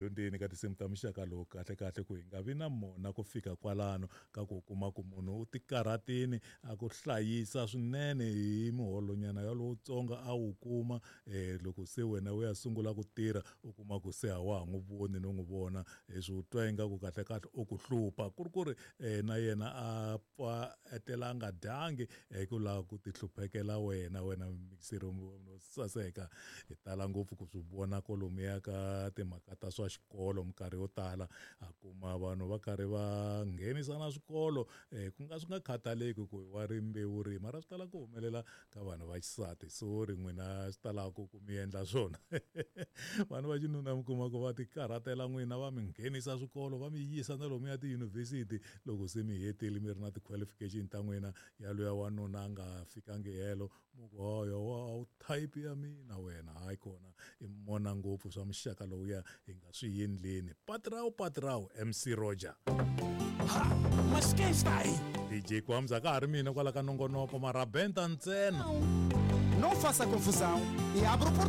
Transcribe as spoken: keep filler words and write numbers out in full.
Dyondzeni ka tinsimu ta muxaka lowu kahle kahle ku hi nga vi na mona ku fika kwalano ka ku kuma ku munhu u tikarhatini a ku hlayisa swinene hi muholonyana yalowutsongo a wu kuma um loko se wena u ya sungula ku tirha, u kuma ku se a wa ha n'wi voni no n'wi vona, leswi u twa ingaku kahle kahle u ku hlupha, ku ri ku ri um na yena a pfa etlela a nga dyangi hi ku lava ku ti hluphekela wena. Wena mixero wo saseka, hi tala ngopfu ku swi vona kolomuya ka timhaka ta swa xikolo. Minkarhi yo tala a kuma vanhu va karhi va nghenisana swikolo, um ku nga swi nga khataleki ku wa rimbewu rihi, mara swi tala ku humelela ka vanhu va xisati. Sorry n'wina, swi talaka ku mi endla swona. Vanhu va xinuna mi kuma ku va ti karhatela n'wina, va mi nghenisa swikolo, va mi yisa na lomuya tiyunivhesiti. Loko se mi hetile, mi ri na ti-qualification ta n'wina, yaloya wanuna a nga fikangi helo, mu ku hoyo wa type ya mina wena. Hayi kona, i mona ngopfu swa muxaka lowuya, hi nga swi endleni. Patrao patrao, M C Roger. Ha, mas quem está aí? D J Kwamza ka ha ri mina kwala ka nongonoko, marabenta ntsena. Não faça confusão e abra o portão.